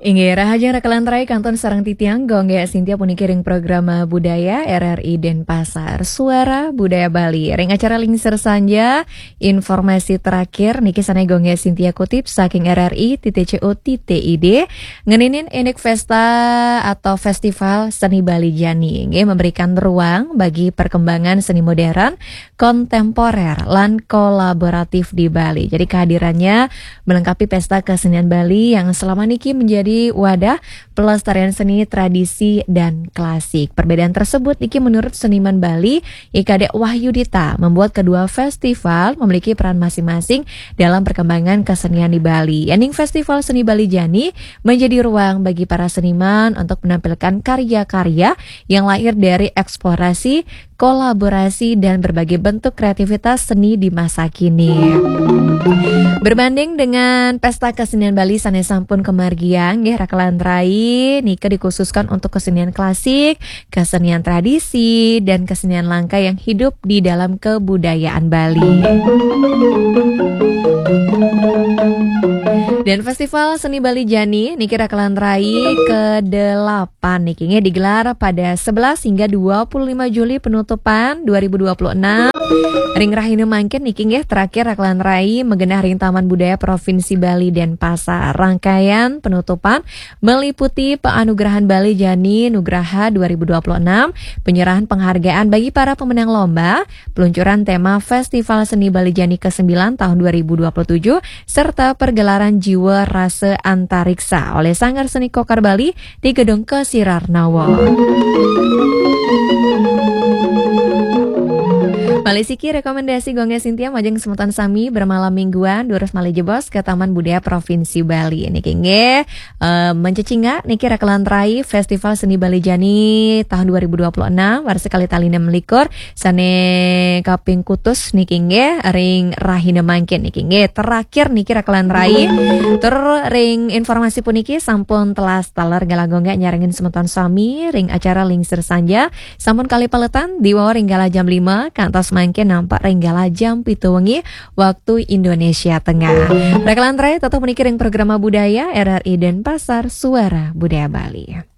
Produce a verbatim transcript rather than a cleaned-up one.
Inggih, rahajeng raka lan rai kantun sareng titiang Gung Gé Sintia puniki ring programa budaya R R I Denpasar, Suara Budaya Bali. Ring acara Lingsir Sanja, informasi terakhir niki sané Gung Gé Sintia kutip saking R R I titik C O titik I D, ngeninin indik pesta atau festival seni Bali Jani. Inggih, memberikan ruang bagi perkembangan seni modern, kontemporer, lan kolaboratif di Bali. Jadi kehadirannya melengkapi pesta kesenian Bali yang selama niki menjadi wadah pelestarian seni tradisi dan klasik. Perbedaan tersebut niki menurut seniman Bali, I Kadek Wahyudita, membuat kedua festival memiliki peran masing-masing dalam perkembangan kesenian di Bali. Yéning Festival Seni Bali Jani menjadi ruang bagi para seniman untuk menampilkan karya-karya yang lahir dari eksplorasi, kolaborasi, dan berbagai bentuk kreativitas seni di masa kini. Berbanding dengan pesta kesenian Bali sané sampun kamargiang, nggih, raka lan rai, nika dikhususkan untuk kesenian klasik, kesenian tradisi, dan kesenian langka yang hidup di dalam kebudayaan Bali. Dan Festival Seni Bali Jani niki raka lan rai kedelapan niki nggih digelar pada sebelas hingga dua puluh lima Juli penutupan dua ribu dua puluh enam. Ring rahina mangkin niki nggih terakhir raka lan rai magenah ring Taman Budaya Provinsi Bali Denpasar. Rangkaian penutupan meliputi Penganugerahan Bali Jani Nugraha dua ribu dua puluh enam, penyerahan penghargaan bagi para pemenang lomba, peluncuran tema Festival Seni Bali Jani kesembilan tahun dua ribu dua puluh tujuh, serta pergelaran Jiwa Rasa Antariksa oleh Sanggar Seni Kokar Bali di Gedung Kesirarnawa. Malih siki rekomendasi Gung Gé Sintia majeng semeton sami bermalam mingguan, durus malih jebos ke Taman Budaya Provinsi Bali. Niki nggih, eh, mencecingak niki raka lan rai Festival Seni Bali Jani tahun dua ribu dua puluh enam, warsa kalih tali enam likur, sané kaping kutus niki nggih ring rahina mangkin niki nggih. Terakhir niki raka lan rai. Tur ring informasi puniki sampun telas taler galah Gung Gé nyarengin semeton sami ring acara Lingsir Sanja. Sampun kalih paletan, diwau ring galah jam lima, kantos mangkin nampek ring galah jam pitu wengi, waktu Indonesia Tengah. Raka lan rai, tetep puniki ring programa budaya R R I Denpasar, Suara Budaya Bali.